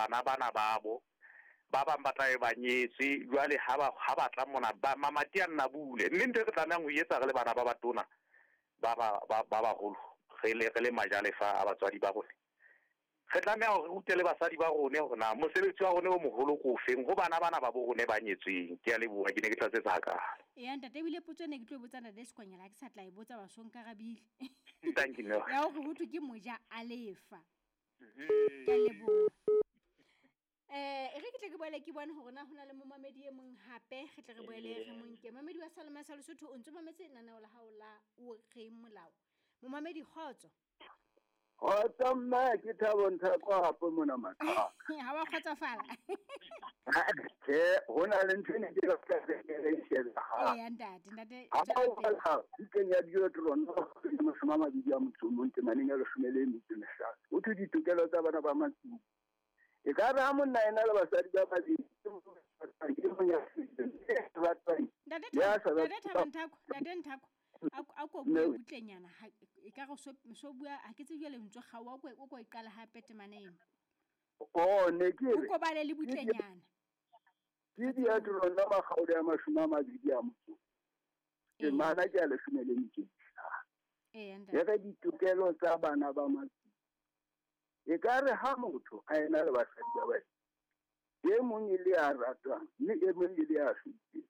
bana bana babo ba bang ba tla be ba nyetswe. Jwale ha ba ha ba tla mona ba mamati a nna bule, mme ntho e re tlamehang ho etsa re le bana ba batona ba ba ba ba baholo, re le majalefa a batswadi ba rona, re tlameha hore re rute le basadi ba rone hore na mosebetsi wa rone o moholo ke ofeng ho bana bana ba bo rone ba nyetsweng. Ke a leboha, ke ne ke tlatsetsa hakalo. Eya ntate, ebile potso e ne ke tlo e botsa ntate Sekwanyela ha ke sa tla e botsa, wa so nkarabile. Thank you, no. Ya hore ho thwe ke moja a lefa. Ke a leboha. E re ke tle ke boele ke bone hore na ho na le momamedi e mong hape, re tle re boele re monke. Mamedi wa Salema sa Lesotho, o ntso mametse lenaneo la hao la O Reng Molao. Momamedi, kgotso. Kgotso mme, ke Thabo Nthako hape mona Makhaka. Ha wa kgotsofala? Tjhe, ho na le ntho e ne ke batla ke re shebe ha. Eya ntate, ntate. Ha Tswela o pele. Bala bukeng ya Deuteronomy 21 temaneng ya 15. O thwe ditokelo tsa bana ba matsibolo. E ka re ha monna ena le basadi ba babedi, e mong ya ratwang, Ntate ya sa Ntate Thabo Nthako, ntate Nthako. A ko bue butlenyana, ha e ka re so bua ha ke tsebe jwale lentswe kgaoha, o ko e qala hape temana eno. Oh, ne ke O re ko bale le butlenyana. Ke Deuteronomy makgaolo ya 21. Temana ke ya 15. Eya E ntate. re ditokelo tsa bana ba matsibolo. E ka re ha motho a ena le basadi ba babedi, e mong e le ya ratwang mme e mong e le ya hloileng,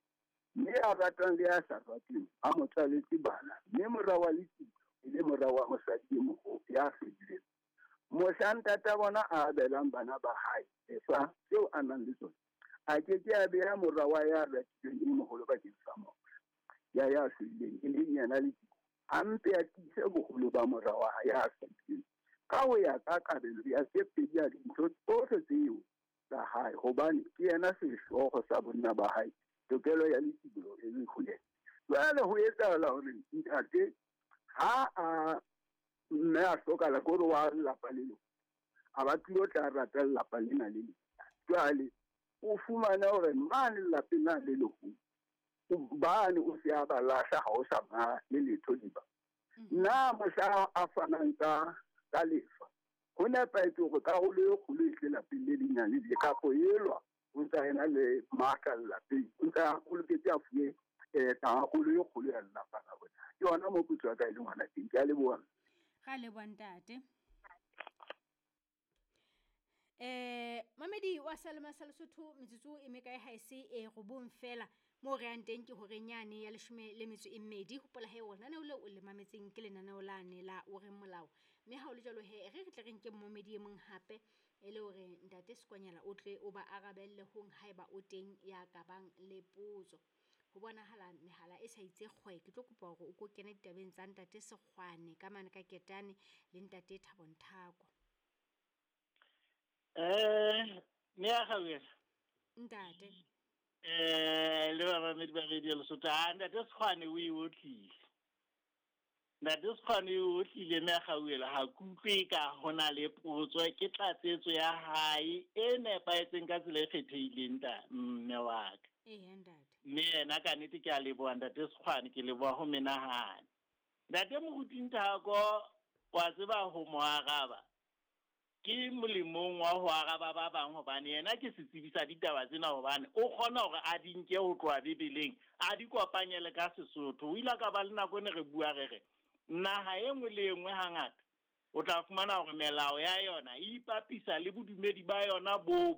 mme ya ratwang le ya sa ratweng a mo tswaletse bana, mme mora wa letsibolo e le mora wa mosadi e moholo ya hloileng, mohla ntata bona a abelang bana ba hae lefa tseo a nang le tsona, a ke ke a beha mora wa ya ratilweng e moholo bakeng sa mora ya ya hloileng, e leng yena letsibolo, a mpe a tiise boholo ba mora wa hae ya hloileng ka ho ya ka kabelo ya tse pedi ya dintho tsohle tseo tsa hae, hobane ke yena sehlooho sa bonna ba hae, tokelo ya letsibolo e le ho yena. Jwale ho etsahala hore ntate ha a mme a hlokahala, ke hore wa lelapa le leng a ba tlilo tla rata lelapa lena le leng. Jwale o fumane hore mane lelapeng la le leholo bane o se a ba lahla, ha o sa ba le letho diba nna. Mohla a fanang ka lefa, ho nepahetse hore karolo e kgolo e tle lapeng le lenyane le kapo elwa o ntsa ena le matla lelapeng, o ntsa o loketse a fuwe karolo e kgolo ya lelapa la bona. Ke yona mo potso ya ka e leng hona teng. Ke a leboha. Ra leboha ntate. Mamedi wa Salema sa Lesotho, metsotso e mekae ha ese e 9 fela moo re yang teng ke horeng yane ya 12. Hopola he lenaneo leo o le mametseng ke lenaneo lane la O Reng Molao, mme ha o le jwalo he re tle re nke momedi e mong hape e le hore ntate Sekwanyela o tle o ba arabelle hong haeba o teng ya ka bang le potso. Ho bonahala mehala e sa itse kgwe, ke tlo kopa hore o ko kene ditabeng tsa ntate Sekgwane ka mane ka Ketane le ntate Thabo Nthako. Mme ya Gauela. Ntate. Le bamamedi ba Radio Lesotho, ha ntate Sekgwane o e otlile. Ntate Sekgwane o e otlile, mme ya Gauela, ha ke utlwe ka hona le potso, ke tlatsetso ya hae e nepahetseng ka tsela e kgethehileng ta mme wa ka. Eya ntate. Mme yena ka nnete ke a leboha ntate Sekgwane, ke leboha ho menahane. Ntate Moruti Nthako, wa tseba ho mo araba ke molemong wa ho araba ba bang, hobane yena ke setsebi sa ditaba tsena, hobane o kgona hore a di nke ho tloha Bibeleng a di kopanye le ka Sesotho. O ile ka ba le nako e ne re bua re re naha e nngwe le e nngwe hangata o tla fumana hore melao ya yona e ipapisa le bodumedi ba yona bo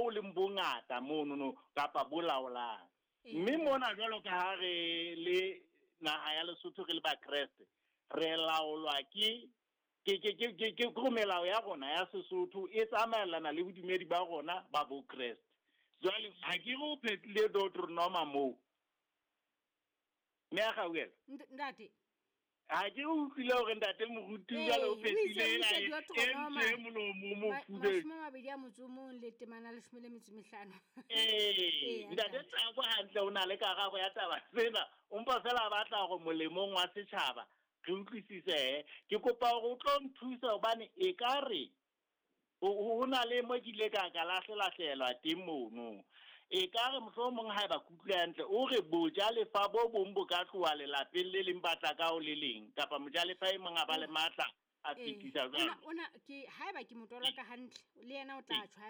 leng bongata monono kapa bo laolang. Mme mona jwalo ka ha re le naha ya Lesotho, re le Bakreste, re laolwa ke melao ya rona ya Sesotho e tsamaellana le bodumedi ba rona ba Bokreste. Jwale ha ke re o phetile Deuteronoma moo, mme a Gauela. Ntate. Ha ke re utlwile hore ntate Moruti jwale o Ee, o itse- phethile o itse ena e Deuteronoma. ntse molomo o mofubedu. 21 le temana 15. Ee, Ee, ntate ntate. Tsako hantle o na le karabo ya taba tsena, o mpa fela a batla hore molemong wa setjhaba re utlwisise. Ke kopa hore o tlo nthusa hobane e ka re ho na le mo ke ile ka lahlelahlelwa teng mono. E ka re mohlomong haeba ke utlwile hantle, o re bojalefa bo bong bo ka tloha lelapeng le leng ba tla ka ho le leng, kapa mojalefa e mong a ba le matla a fetisa jwalo. Ona ke haeba ke mo toloka hantle le yena o tla tjho.